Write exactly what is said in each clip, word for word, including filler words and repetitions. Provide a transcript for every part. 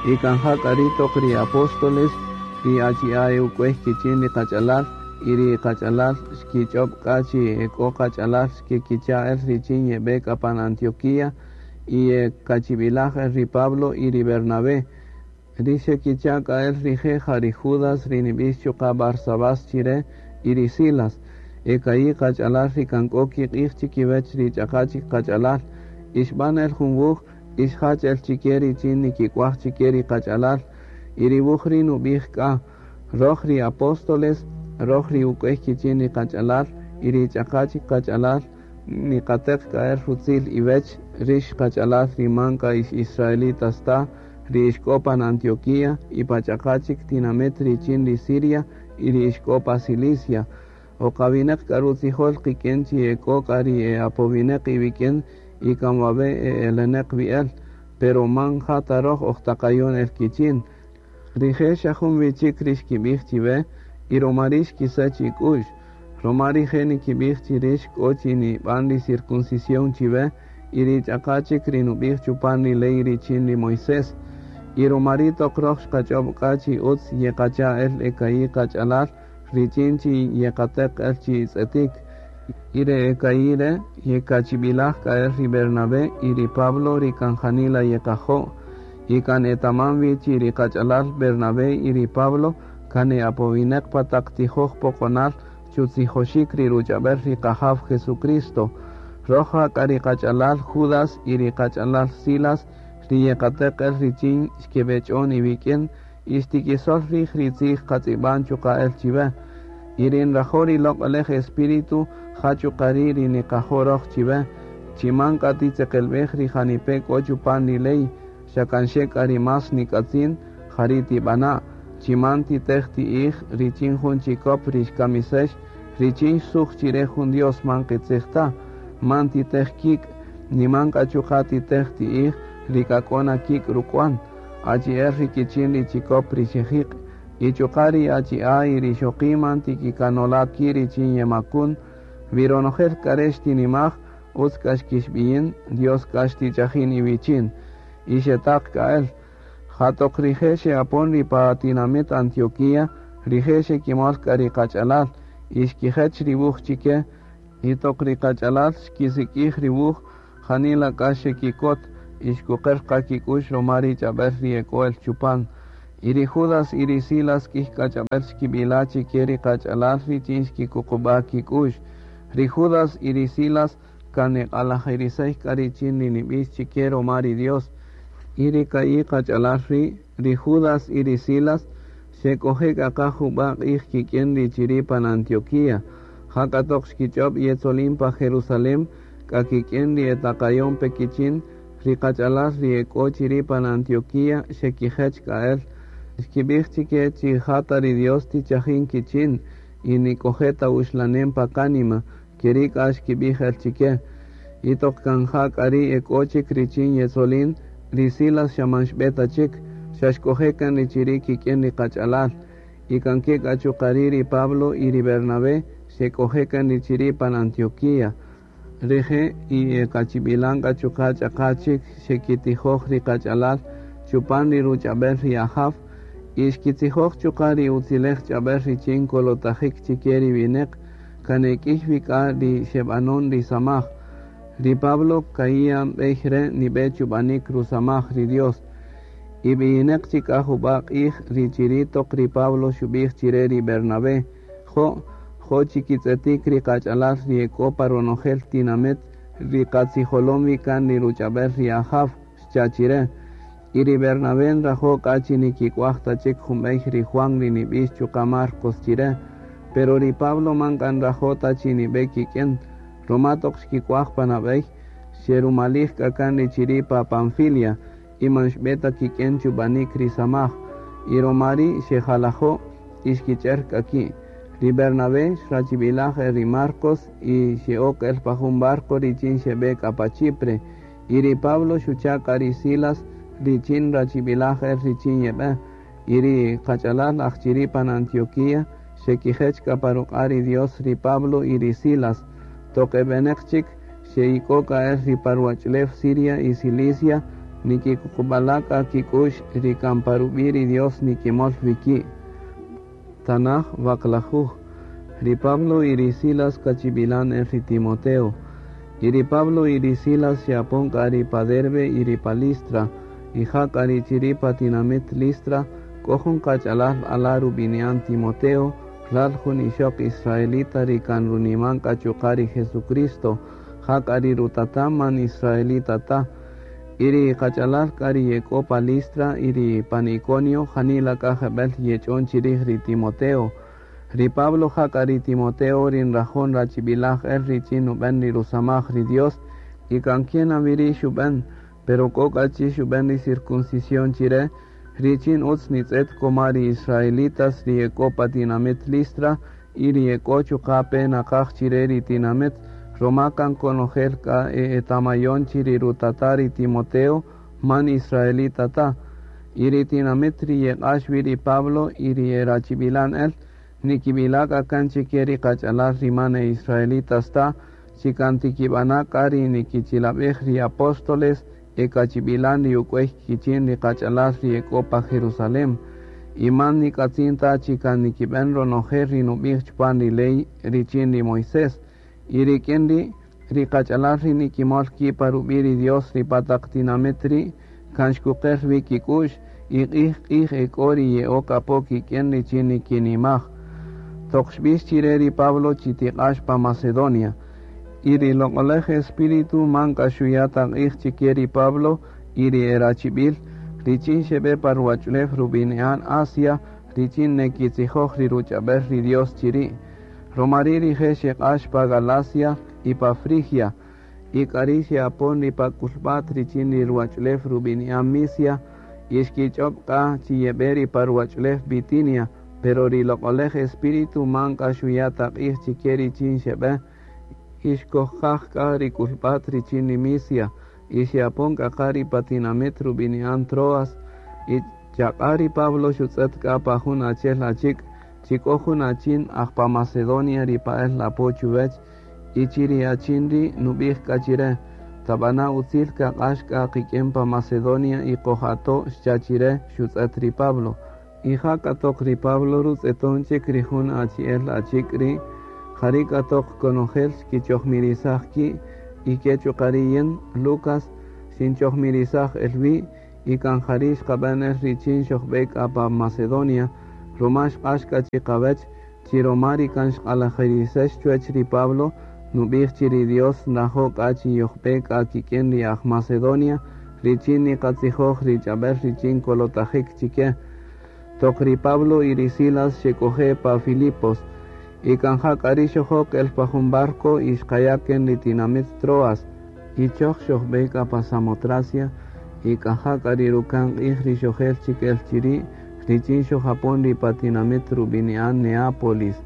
Y kan ja k'a ri' toq ri apóstoles, ri achi'a' e uk'wey kichin ri qach'alal y ri qach'alal xkich'ob' k'a chi e k'o qach'alal xkekicha' el richin yeb'e k'a pan Antioquía y yekachib'ilaj el ri Pablo y ri Bernabé. Ri xekicha' k'a el rije' ja ri Judas ri nib'ix chuqa' Barsabás chire y ri Silas. E ka'i' qach'alal ri kan k'o kiq'ij chikiwech ri ch'aqa chik qach'alal. Y xb'an el jun wuj y xjach el chike richin nikik'uaj chike ri qach'alal. Y ri wuj ri' nub'ij k'a: Roj ri apóstoles, roj ri uk'wey kichin ri qach'alal y ri ch'aqa chik qach'alal niqateq k'a el rutzil iwech rix qach'alal ri man k'a ix israelitas ta, ri ixk'o pan Antioquía y pa ch'aqa chik tinamit richin ri Siria y ri ixk'o pa Cilicia. Oqawinaq k'a rutzijol qik'in chi e k'o k'a ri e apowinaq iwik'in y kan wawe' e eleneq wi el, pero man ja ta roj ojtaqayon el kichin. Rije' xa jun wi chik ri xkib'ij chiwe y ruma ri' xkisach ik'u'x. Ruma rije' nikib'ij chi rix k'o chi nib'an ri circuncisión chiwe y ri ch'aqa chik ri nub'ij chupan ri ley richin ri Moisés. Y ruma ri' toq roj xqach'ob' k'a chi utz yeqacha' el e ka'i' qach'alal richin chi yeqateq el chi tz'etik. Y re e ka'i' re' yekachib'ilaj k'a el ri Bernabé y ri Pablo ri kan janila yeqajo'. Y kan etaman wi chi ri qach'alal Bernabé y ri Pablo kan e apowinaq pa taq tijoj poqonal chutzijoxik ri ruch'ab'el ri qajaw Jesucristo. Roj k'a ri qach'alal Judas y ri qach'alal Silas ri yeqateq el richin xkeb'ech'on iwik'in y xtikisol rij ri tzij qatz'ib'an chuqa' el chiwe. Y ri nrajo' ri loq'olej Espíritu ja chuqa' ri' ri niqajo' roj chiwe. Chi man k'a titzeqelb'ej ri janipe' k'o chupan ri ley, xa kan xe k'a ri más nik'atzin ja ri' tib'ana'. Chi man titej ti'ij richin jun chikop ri xkamisex richin xsuj chire jun Dios man qitzij ta. Man titej kik' ni man k'a chuqa' titej ti'ij ri k'a k'o na kik' ruk'wan. Achi'el ri kichin ri chikop ri xejiq'. Y chuqa' ri achi'a' y ri ixoqi' man tikikanola' ki' richin yemakun. Wi ronojel k'a re' xtinimaj, utz k'a xkixb'iyin, Dios k'a xtichajin iwichin. Y xetaq k'a el. Ja toq rije' xe'apon ri pa tinamit Antioquía, rije' xekimol k'a ri qach'alal y xkijech ri wuj chike. Y toq ri qach'alal xkisik'ij ri wuj, janila k'a xekikot y xkuqer qa kik'u'x ruma ri ch'ab'el ri e k'o el chupan. Y ri Judas y ri Silas k'ij k'a ch'ab'el xkib'ila' chike ri qach'alal richin xkikuqub'a' kik'u'x. Ri Judas y ri Silas kan eq'alajirisey k'a richin ri nib'ix chike ruma ri Dios. Y ri ka'i' qach'alal ri', ri Judas y ri Silas, xek'oje' k'a qa jub'a' q'ij kik'in ri chiri' pan Antioquía. Ja k'a toq xkich'ob' yetzolin pa Jerusalén, k'a kik'in ri etaqayon pe kichin, ri qach'alal ri e k'o chiri' pan Antioquía xekijech k'a el. Xkib'ij chike chi ja ta ri Dios tichajin kichin y nik'oje' ta uxlanem pa kánima, keri' k'a xkib'ij el chike. Y toq kan ja k'a ri' e k'o chik richin yetzolin, ri Silas xa man xb'e ta chik, xa xk'oje' kan ri chiri' kik'in ri qach'alal. Y kan ke k'a chuqa' ri' ri Pablo y ri Bernabé xek'oje' kan ri chiri' pan Antioquía. Rije' y e kachib'ilan k'a chuqa' ch'aqa chik xekitijoj ri qach'alal chupan ri ruch'ab'el ri Ajaw y xkitzijoj chuqa' ri utzilej ch'ab'el richin kolotajik chike ri wineq kan e k'iy wi k'a ri xeb'anon ri samaj. Ri Pablo ka'i' b'ey re' nib'e chub'anik rusamaj ri Dios. Y b'iyineq chik k'a jub'a' q'ij ri chiri' toq ri Pablo xub'ij chire ri Bernabé: Jo', jo' chikitz'etik ri qach'alal ri e k'o pa ronojel tinamit ri qatzijolom wi kan ri ruch'ab'el ri Ajaw, xcha' chire. Y ri Bernabé nrajo' k'a chi nikik'uaj ta chik jun b'ey ri Juan ri nib'ix chuqa' Marcos chire. Pero ri Pablo man k'a nrajo' ta chi nib'e kik'in, ruma toq xkik'uaj pan ab'ey, xerumalij k'a kan ri chiri' pa Panfilia y man xb'e ta kik'in chub'anik ri samaj. Y ruma ri' xejalajo' y xkich'er k'a ki'. Ri Bernabé xrachib'ilaj el ri Marcos y xe'ok el pa jun barco richin xeb'e k'a pa Chipre. Y ri Pablo xucha' k'a ri Silas richin rachib'ilaj el richin yeb'e. Y ri qach'alal aj chiri' pan Antioquía xekijech k'a pa ruq'a' ri Dios ri Pablo y ri Silas. Toq eb'eneq chik xe'ik'o k'a el ri pa ruwach'ulew Siria y Cilicia. Nikikuqub'ala' k'a kik'u'x ri kan pa rub'i' ri Dios nikimol wi ki'. Tanaj waqlajuj. Ri Pablo y ri Silas kachib'ilan el ri Timoteo. Y ri Pablo y ri Silas xe'apon k'a ri pa Derbe y ri pa Listra. Y ja k'a ri chiri' pa tinamit Listra k'o jun qach'alal ala' rub'ini'an Timoteo, ral jun ixoq israelita ri kan runiman k'a chuqa' ri Jesucristo, ja k'a ri rutata' man israelita ta. Y ri qach'alal k'a ri ye k'o pa Listra y ri pan Iconio janila k'a jeb'ël yech'on chirij ri Timoteo. Ri Pablo ja k'a ri Timoteo ri nrajo' nrachib'ilaj el richin nub'än ri rusamaj ri Dios y kan kien wi ri' xub'än, pero k'o k'a chi xub'än ri circuncisión chire, richin utz nitz'et koma ri israelitas ri ye k'o pa tinamit Listra y ri ye k'o chuqa' pe naqaj chire ri tinamit, roma kan konojel k'a e etamayon chi ri rutata' ri Timoteo man israelita ta. Y ri tinamit ri yeq'ax wi ri Pablo y ri erachib'ilan el, nikib'ila' k'a kan chike ri qach'alal ri man e israelitas ta, chi kan tikib'ana' k'a ri nikichilab'ej ri apóstoles e kachib'ilan ri uk'wey kichin ri qach'alal ri ye k'o pa Jerusalén. Y man nik'atzin ta chi kan nikib'än ronojel ri nub'ij chupan ri ley richin ri Moisés. Y rik'in ri' ri qach'alal ri nikimol ki' pa rub'i' ri Dios ri pa taq tinamit ri' kan xkuqer wi kik'u'x y q'ij q'ij e k'o ri ye'ok apo kik'in richin nikinimaj. Toq xb'ix chire ri Pablo chi tiq'ax pa Macedonia. Y ri loq'olej Espíritu man k'a xuya' ta q'ij chike ri Pablo y ri erachib'il richin xeb'e pa ruwach'ulew rub'ini'an Asia richin nekitzijoj ri ruch'ab'el ri Dios chiri'. Roma ri' rije' xeq'ax pa Galacia y pa Frigia, y k'ari' xe'apon ri pa k'ulb'a't richin ri ruwach'ulew rub'ini'an Misia, y xkich'ob' k'a chi yeb'e ri pa ruwach'ulew Bitinia, pero ri loq'olej Espíritu man k'a xuya' ta q'ij chike richin xeb'e, y xkojqaj k'a ri k'ulb'a't richin ri Misia, y xe'apon k'a qa ri pa tinamit rub'ini'an Troas, y chaq'a' ri Pablo xutz'et k'a pa jun achel achik', chi k'o jun achin aj pa Macedonia ri pa'el apo chuwech, y chi ri achin ri' nub'ij k'a chire, tab'ana' utzil kaq'ax k'a qik'in pa Macedonia y qojato' xcha' chire xutz'et ri Pablo. Y ja k'a toq ri Pablo rutz'eton chik ri jun achi'el achik' ri', jari' k'a toq konojel xkichojmirisaj ki' y ke chuqa' ri yin, Lucas, xinchojmirisaj el wi' y kan jari' xqab'än el richin xojb'e k'a pa Macedonia, roma xq'ax k'a chiqawech chi roma ri kan xq'alajirisex chuwech ri Pablo, nub'ij chi ri Dios nrajo' k'a chi yojb'e k'a kik'in ri aj Macedonia, richin niqatzijoj ri ch'ab'el richin kolotajik chike. Toq ri Pablo y ri Silas xek'oje' pa Filipos, y kan ja k'a ri' xojok el pa jun barco y xqaya' ken ri tinamit Troas, y choj xojb'e k'a pa Samotracia, y kan ja k'a ri ruka'n q'ij ri xojel chik el chiri', richin xojapon ri pa tinamit rub'ini'an Neápolis,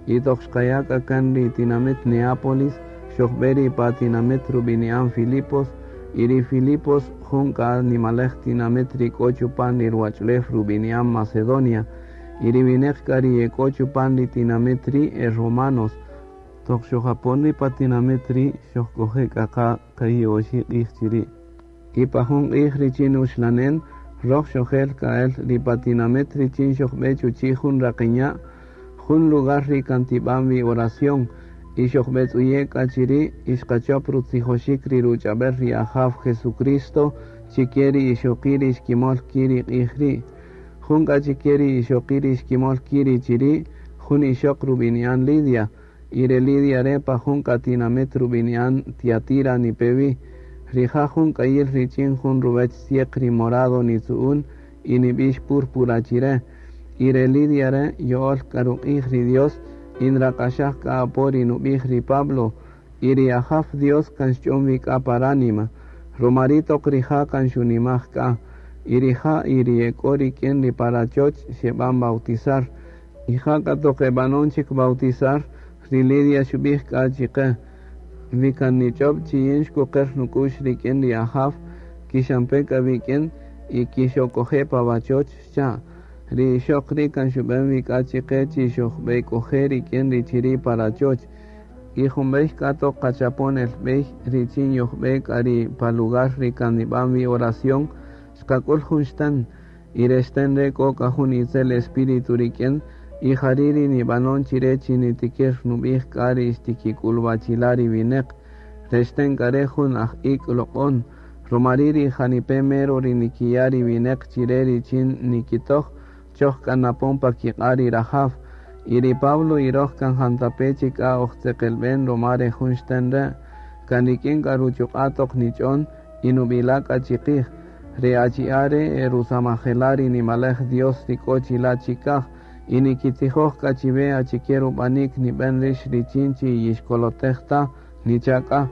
y toq xqaya' k'a kan ri tinamit Neápolis, xojb'e ri pa tinamit rub'ini'an Filipos, y ri Filipos jun k'a nimalej tinamit ri k'o chupan ri ruwach'ulew rub'ini'an Macedonia, y ri wineq k'a ri ye k'o chupan ri tinamit ri' e romanos. Toq xojapon ri pa tinamit ri' xojk'oje' k'a qa ka'i' oxi' q'ij chiri'. Y pa jun q'ij richin uxlanen, roj xojel k'a el ri pa tinamit richin xojb'e chuchi' jun raqinya', jun lugar ri kan tib'an wi oración, y xojb'etz'uye' k'a chiri' y xqachop rutzijoxik ri ruch'ab'el ri Ajaw Jesucristo chike ri ixoqi' ri xkimol ki' ri q'ij ri'. Jun k'a chike ri ixoqi' ri xkimol ki' ri chiri', jun ixoq rub'ini'an Lidia, y re Lidia re' pa jun k'a tinamit rub'ini'an Tiatira nipe wi. Rija' jun k'ayil richin jun ruwech tzieq ri morado nitzu'un y nib'ix púrpura chire. Y re Lidia re' yo'ol k'a ruq'ij ri Dios y nraq'axaj k'a apo ri nub'ij ri Pablo, y ri Ajaw Dios kan xch'on wi k'a pa ránima. Roma ri' toq rija' kan xunimaj k'a, y rija' y ri ye k'o rik'in ri pa rachoch xeb'an bautizar. Y ja k'a toq eb'anon chik bautizar, ri Lidia xub'ij k'a chike, wi kan nich'ob' chi yin xkuqer nuk'u'x rik'in ri Ajaw, kixampe k'a wik'in y kixok'oje' pa wachoch xcha'. Ri ixoq ri' kan xub'än wi k'a chike chi xojb'ek'oje' rik'in ri chiri' pa rachoch. Y jun b'ey k'a toq qachapon el b'ey richin yojb'e k'a ri pa lugar ri kan nib'an wi oración, Xqak'ul jun xten, y re xten re' k'o k'a jun itzel espíritu rik'in, y jari' ri nib'anon chire chi nitikir nub'ij k'a ri xtikik'ulwachila' ri wineq. Re xten k'a re' jun aj ik' loq'on, ruma ri' ri janipe' mero ri nikiya' ri wineq chire richin nikitoj, choj k'a napon pa kiq'a' ri rajaw. Y ri Pablo y roj kan jantape' chik k'a ojtzeqelb'en ruma re jun xten re', kan rik'in k'a ruchuq'a' toq nich'on y nub'ila' k'a chiqij. Re achi'a' re' e rusamajela' ri nimalej Dios ri k'o chila' chikaj, y nikitzijoj k'a chiwe achike rub'anik nib'en rix richin chi yixkolotej ta, nicha' k'a.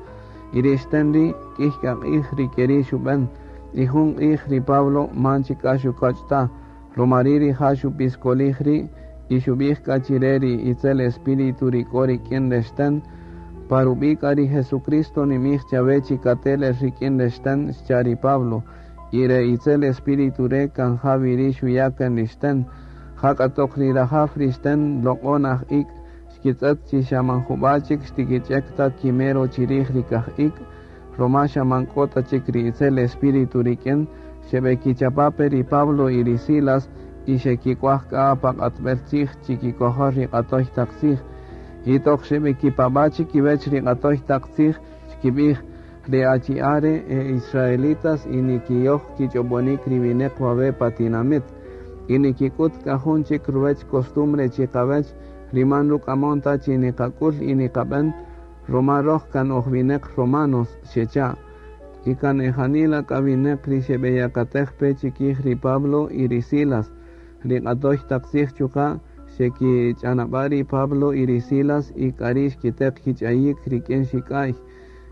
Y ri xten ri' k'ij k'a q'ij ri keri' xub'en, y jun q'ij ri Pablo man chik k'a xukoch' ta, ruma ri' rija' xupiskolij ri' y xub'ij k'a chire ri itzel espíritu ri k'o rik'in re xten, pa rub'i' k'a ri Jesucristo nimij chawe chi katel el rik'in re xten, xcha' ri Pablo. Y re itzel espíritu re' kan ja wi ri' xuya' kan ri xten. Ja k'a toq ri rajaw ri xten loq'on aj ik' xkitz'ët chi xa man jub'a' chik xtikich'ek ta kimero chirij ri kaj ik', ruma xa man k'o ta chik ri itzel espíritu rik'in, xeb'ekichapa' pe ri Pablo y ri Silas y xekik'uaj k'a pa q'atb'el tzij chikikojol ri q'atoy taq tzij. Y toq xeb'ekipab'a' chikiwech ri q'atoy taq tzij, xkib'ij, re achi'a' re' e israelitas y nikiyoj kich'ob'onik ri wineq wawe' pa tinamit. Y nikik'ut k'a jun chik ruwech costumbre chiqawech, ri man ruk'amon ta chi niqak'ul y niqab'en, ruma roj kan oj wineq romanos, xecha'. Y kan e janila k'a wineq ri xeb'eyakatej pe chikij ri Pablo y ri Silas. Ri q'atoy taq tzij chuqa' xekich'anab'a' ri Pablo y ri Silas y k'ari' xkiteq kich'ayik rik'in xik'a'y.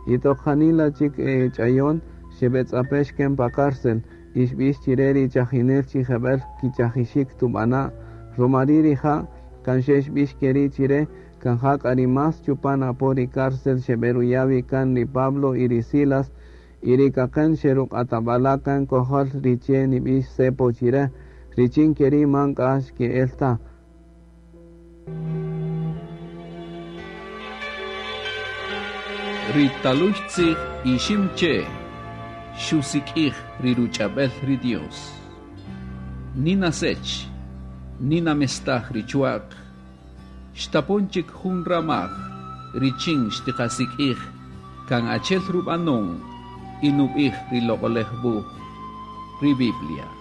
Y toq janila chik e ch'ayon, xeb'etz'apex ken pa cárcel, y xb'ix chire ri chajinel chi jeb'el kichajixik tub'ana'. Ruma ri' rija' kan xe xb'ix keri' chire, kan ja k'a ri más chupan apo ri cárcel xeb'eruya' wi kan ri Pablo y ri Silas, y ri kaqen xeruq'atab'ala' kan kojol ri che nib'ix cepo chire, richin keri' man k'a xke'el ta. Ri taluy tzij ixim che xusik'ij ri ruch'ab'el ri Dios. Nina sech, nina mestaj ri chuaq, xtapon chik jun ramaj, richin xtiqasik'ij, kan achel rub'anon y nub'ij ri loq'olej wuj, ri Biblia.